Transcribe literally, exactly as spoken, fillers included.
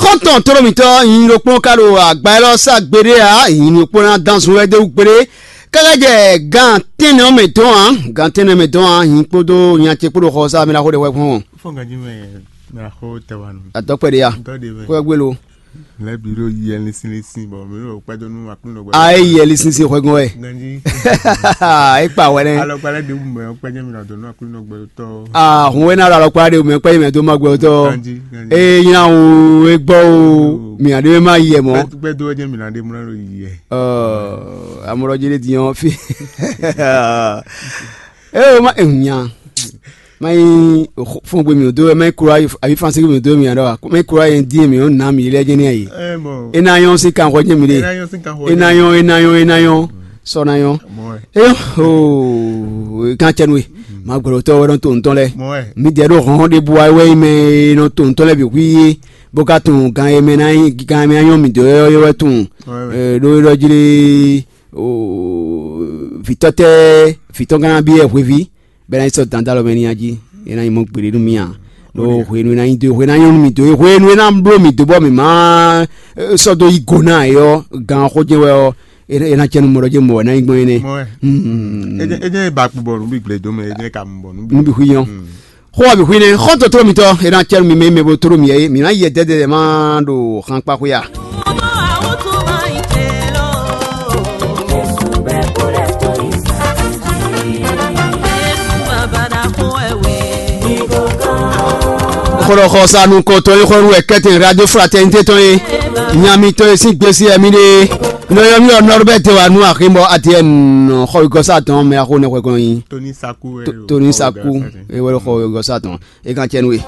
Ɔ́ tɔn tló mǐtɔn nyi ɖokpó ka ɖo agba élɔ́ sá gbeɖé ǎ, nyi ɖokpó ná dán zun wɛ dó gbeɖé. Káká jɛ gan tɛ́nnɛ ɔ́ mɛ dɔn ǎ, gan tɛ́nnɛ mɛ dɔn ǎ, nyi kpódó nya ce kpó ɖo xɔ sá mi ná xó ɖe hwɛ gbɔn. Fɔ́n ganjí mɛ mɛ axó tɛ wa nù. Atɔ́kpɛ ɖe ya. Ntɔ́ ɖe mɛ. Kó ɛ gbé lo. Lɛ́ bǐ ɖo yi ɛlinsin linsin bɔ mɛ ɖo kpɛ́ dó nú aklúnɔ gbɛ. A é yi ɛlinsin sin xwɛ gbɔn wɛ. Ganjí. É kpa wɛ nɛ. Alɔkpa lɛ́ ɖe wú mɛ ɔ́ kpɛ́ jẹ́ mi nɔ dó nú aklúnɔ gbɛ tɔ́. Ah, hun wɛ ná ɖo alɔkpa ɖe mɛ kpɛ́ yi mɛ dó ma gbɛ tɔ́. Ganjí, ganjí. Eye nyina wo e gbɔ o, mi aɖe ma yi yɛ mɔ. Kpɛ́ dó wɛ jẹ́ mi ná ɖe mɔ ná ɖo yi yɛ. Amɔɖɔ jɛ ɖe diɲɔ fi. Eye o ma nya. Mayi fɔngbe mi do, mayi kura ayi fansi mi do mi aɖɔ, mayi kura yɛn di mi o na mi lɛ jɛ ne ayi. Ena yɔn si kan xɔ jɛ mi de. Ena yɔn, ena yɔn, ena yɔn, ena yɔn. Sɔ na yɔn. Eyɔ, o kan cɛ nu e. Ma gbɔdɔ tɔ wɛ nɔ to ntɔn lɛ. Mi dɛ ɖo hɔn de bu ayi wɛ yi mɛ nɔ to ntɔn lɛ bi hu ye. Bó ka tun gan yɛ mɛ na yi gan yɛ mɛ anyɔ mi do yɔ yɔ wɛ tun. Ɖo yɔ jli. Vǐtɔ́ tɛ́ vǐtɔ́ gán ná byɔ́ hweví, bɔ é ná yi sɔ́ dandalɔ mɛ ní nya jí, é ná nyí mɔ gbeɖé nú mì ǎ. Ɖó hwenu e ná nyí dó hwenu e ná nyɔ́ nú mì dó hwenu e ná bló mì dó bɔ mǐ má sɔ́ dó yí go ná ɛ ɔ́, gan ɔ́ xó jɛ́n wɛ ɔ́, é ná cɛ nú mɔ ɖɔ jɛ́n mɔ wɛ ná nyí gbɔn énɛ́. É jẹ́ ba kpo bɔ nǔ bǐ gblé dó mɛ, é jẹ́ ka mɔ bɔ nǔ bǐ. Nǔ bǐ xwí nyɔ́. Xó ɔ́ bǐ xwí nɛ́, xɔ́ntɔn tló mitɔn, é ná cɛ nú mi mɛ e mɛ bo tló mi é, mǐ ná yi yɛ dɛ́dɛ má ɖo xankpá xwé a. Xɔlɔxɔsanu kɔtɔn e xɔ nú wɛ kɛtɛn radio fraternité tɔn e nya mitɔn e sín gbesi wɛ mi ɖe. Nɔ yɔ mi ɔ Norbert wa nú aximɔ Atiɛn xɔ igɔsa tɔn mɛ axo nɛ xwɛ kɔn nyi. Tony Saku wɛ Tony Saku e wɛ xɔ igɔsa tɔn e kan cɛ nú we.